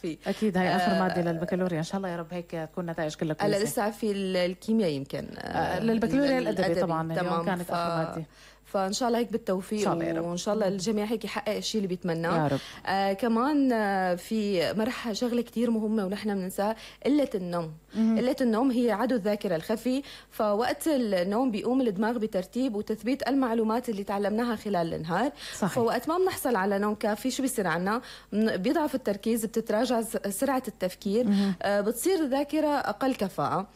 فيه. اكيد هاي اخر ماده للبكالوريا، ان شاء الله يا رب هيك تكون نتائج كلها كويسه. هلا لسه في الكيمياء يمكن للبكالوريا الادبي طبعا اليوم كانت اخر ماده، فان شاء الله هيك بالتوفيق وان شاء الله الجميع هيك يحقق الشيء اللي بيتمناه يا رب. كمان في مرحله شغله كتير مهمه ونحن بننساها، قله النوم. قله النوم هي عدو الذاكره الخفي، فوقت النوم بيقوم الدماغ بترتيب وتثبيت المعلومات اللي تعلمناها خلال النهار. صحيح. فوقت ما بنحصل على نوم كافي شو بيصير عنا؟ بيضعف التركيز، بتتراجع سرعه التفكير، بتصير الذاكره اقل كفاءه.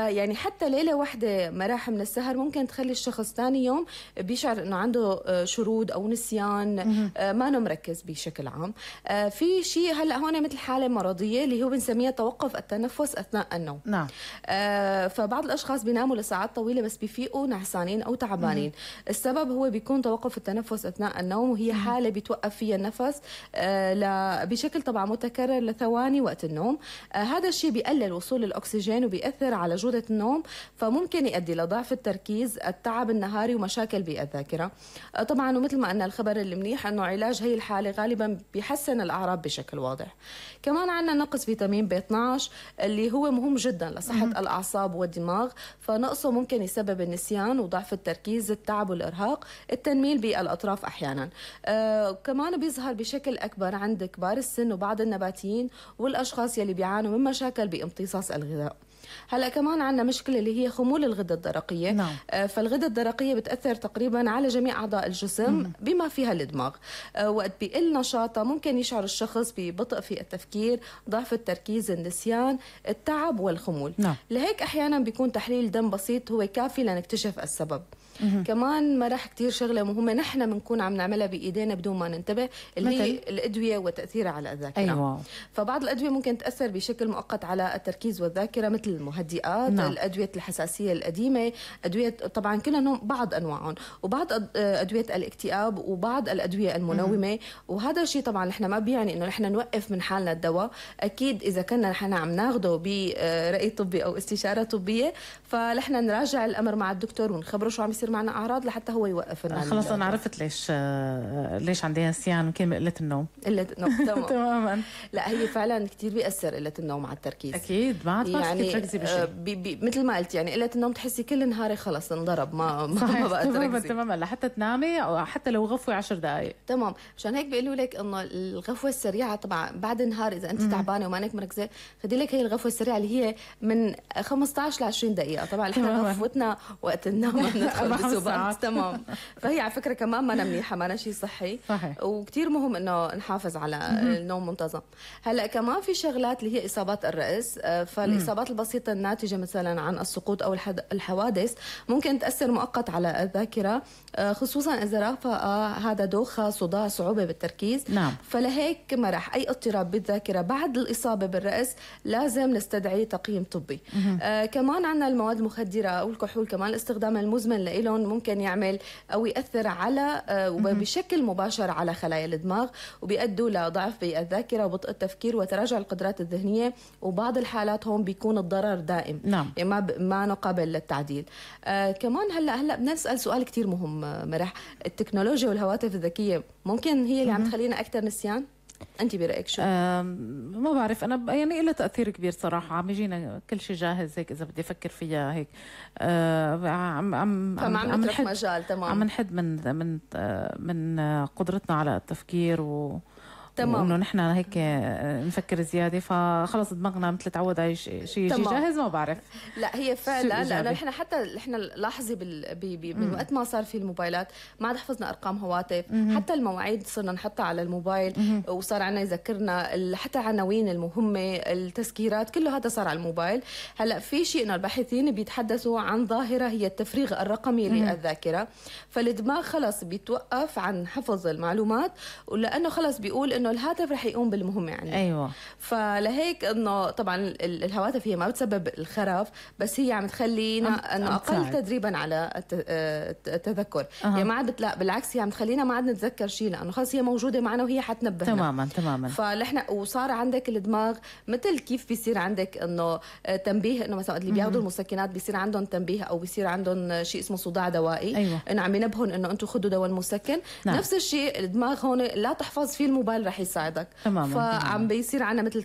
يعني حتى ليلة واحدة مراح من السهر ممكن تخلي الشخص ثاني يوم بيشعر انه عنده شرود او نسيان، ما انه مركز بشكل عام. في شيء هلا هون مثل حالة مرضية اللي هو بنسميها توقف التنفس اثناء النوم. نعم. فبعض الاشخاص بيناموا لساعات طويلة بس بيفيقوا نعسانين او تعبانين. السبب هو بيكون توقف التنفس اثناء النوم، وهي حالة بيتوقف فيها النفس بشكل طبعا متكرر لثواني وقت النوم. هذا الشيء بيقلل وصول الاكسجين وبيأثر على جودة النوم، فممكن يؤدي لضعف التركيز، التعب النهاري، ومشاكل بالذاكرة. طبعا ومثل ما قلنا الخبر المنيح انه علاج هي الحالة غالبا بيحسن الاعراض بشكل واضح. كمان عندنا نقص فيتامين B12 اللي هو مهم جدا لصحة الاعصاب والدماغ، فنقصه ممكن يسبب النسيان وضعف التركيز، التعب والارهاق، التنميل بالاطراف احيانا. كمان بيظهر بشكل اكبر عند كبار السن وبعض النباتيين والاشخاص يلي بيعانوا من مشاكل بامتصاص الغذاء. هلا كمان عندنا مشكله اللي هي خمول الغده الدرقيه. نعم. فالغده الدرقيه بتاثر تقريبا على جميع اعضاء الجسم بما فيها الدماغ. وقت بيقل نشاطها ممكن يشعر الشخص ببطء في التفكير، ضعف التركيز، النسيان، التعب والخمول. نعم. لهيك احيانا بيكون تحليل دم بسيط هو كافي لنكتشف السبب. كمان ما رح كتير شغله مهمه نحن بنكون عم نعملها بايدينا بدون ما ننتبه، اللي هي الادويه وتاثيرها على الذاكره. أيوة. فبعض الادويه ممكن تاثر بشكل مؤقت على التركيز والذاكره مثل المهدئات. نعم. الادويه الحساسيه القديمه، ادويه طبعا كلهم بعض انواعهم، وبعض ادويه الاكتئاب، وبعض الادويه المنومه. وهذا الشيء طبعا نحن ما بيعني انه نحن نوقف من حالنا الدواء. اكيد اذا كنا نحن عم ناخده براي طبي او استشاره طبيه فنحن نراجع الامر مع الدكتور ونخبره شو عم يصير معنا اعراض لحتى هو يوقف لنا. خلص انا عرفت ليش عندي نسيان، يمكن قله النوم. قله النوم تماما. لا هي فعلا كثير بيأثر قله النوم على التركيز. اكيد ما عاد يعني تركزي بشيء. مثل ما قلت يعني قله النوم تحسي كل نهاري خلص انضرب، ما بقى تركزي تماما لحتى تنامي او حتى لو غفوه 10 دقائق. تمام. مشان هيك بيقولوا لك انه الغفوه السريعه طبعا بعد النهار اذا انت تعبانه ومانك مركزه خدي لك هي الغفوه السريعه اللي هي من 15 ل 20 دقيقه. طبعا احنا غفوتنا وقت النوم ندخل بسبات. تمام. فهي على فكره كمان ما منيحه، ما شيء صحي. صحيح. وكثير مهم انه نحافظ على النوم منتظم. هلا كمان في شغلات اللي هي اصابات الراس. فالاصابات البسيطه الناتجه مثلا عن السقوط او الحوادث ممكن تاثر مؤقت على الذاكره، خصوصا اذا رافق هذا دوخه، صداع، صعوبه بالتركيز. نعم. فلهيك مرح اي اضطراب بالذاكره بعد الاصابه بالراس لازم نستدعي تقييم طبي. كمان عندنا المواد المخدره او الكحول، كمان الاستخدام المزمن لهم ممكن يعمل او ياثر على بشكل مباشر على خلايا الدماغ، وبيؤدوا لضعف بالذاكره وبطء التفكير وتراجع القدرات الذهنيه، وبعض الحالات هون بيكون الضرر دائم. نعم. يعني ما قابل للتعديل. كمان هلا بنسال سؤال كتير مهم مرح، التكنولوجيا والهواتف الذكيه ممكن هي اللي عم تخلينا اكثر نسيان؟ انت برايك شو؟ ما بعرف انا، يعني لها تاثير كبير صراحه. عم يجينا كل شيء جاهز هيك اذا بدي افكر فيها هيك. عم نترك مجال. تمام. عم نحد من قدرتنا على التفكير تمام. وانه نحن هيك نفكر زياده، فخلص دماغنا مثل تعود على شيء جاهز. ما بعرف. لا هي فعلا لانه نحن لاحظي من وقت ما صار في الموبايلات ما عاد حفظنا ارقام هواتف. حتى المواعيد صرنا نحطها على الموبايل، وصار عنا يذكرنا حتى عناوين المهمه، التذكيرات، كله هذا صار على الموبايل. هلا في شيء انه الباحثين بيتحدثوا عن ظاهره هي التفريغ الرقمي للذاكره. فالدماغ خلص بيتوقف عن حفظ المعلومات، ولانه خلص بيقول انه الهاتف رح يقوم بالمهمه يعني. ايوه. فلهيك انه طبعا الهواتف هي ما بتسبب الخرف، بس هي عم تخلينا انه اقل تدريبا على التذكر. يعني ما عاد بالعكس هي عم تخلينا ما عاد نتذكر شيء، لانه خلص هي موجوده معنا وهي حتنبهنا. تماما. فنحن وصار عندك الدماغ مثل كيف بيصير عندك انه تنبيه، انه مثلا اللي بياخذوا المسكنات بيصير عندهم تنبيه او بيصير عندهم شيء اسمه صداع دوائي. أيوة. انه عم ينبهون انه انتم خذوا دواء مسكن. نعم. نفس الشيء الدماغ هون لا تحفظ فيه الموبايل رح يساعدك. تماما. فعم بيصير عنا مثل